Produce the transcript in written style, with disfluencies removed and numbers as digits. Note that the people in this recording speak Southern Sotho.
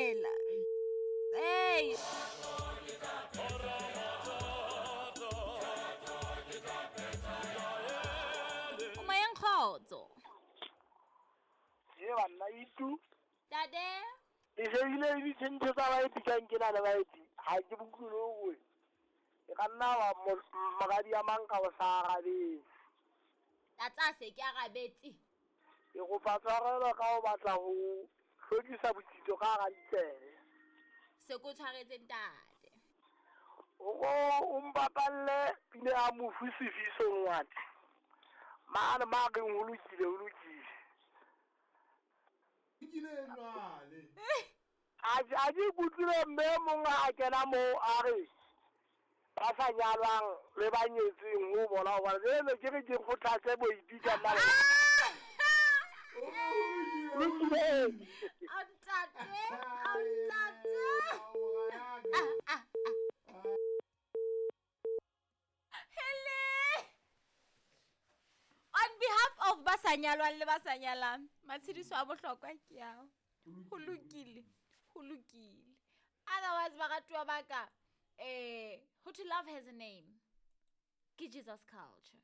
arabela. Ei. O moyeng kgotso. Ye banna itu. Tate. Ke shebile le ditshwantsho tsa baeti ka nke na le baeti ga ke boutlwe le gore e ka nna wa moradi ya mang ka o sa arabetse. Tlatsa se ke arabetse. Ke kopa tshwarelo ka ho batla ho hlwekisa botsitso ka hara ditsebe. Se ko tshwaretse ntate. O ko o mpapalle pina ya mofu Sifiso Ngwati. Mane ma reng ho lokile ho lokile. Lokile jwale. A a ke ikutlwile mme e mong a kena moo a re ba sa nyalwang le ba nyetsweng ho bona hobane jwale ke re ke kgothatse boipi ka nna. Lokile. Ao ntate, ao ntate. Ah, ah, ah. Hele. On behalf of ba sa nyalwang le ba sa nyalang, matshediso a bohlokwa ke ao. Ho lokile, ho lokile. Otherwise baratuwa ba ka, eh, ho thwe love has a name. Ke Jesus culture.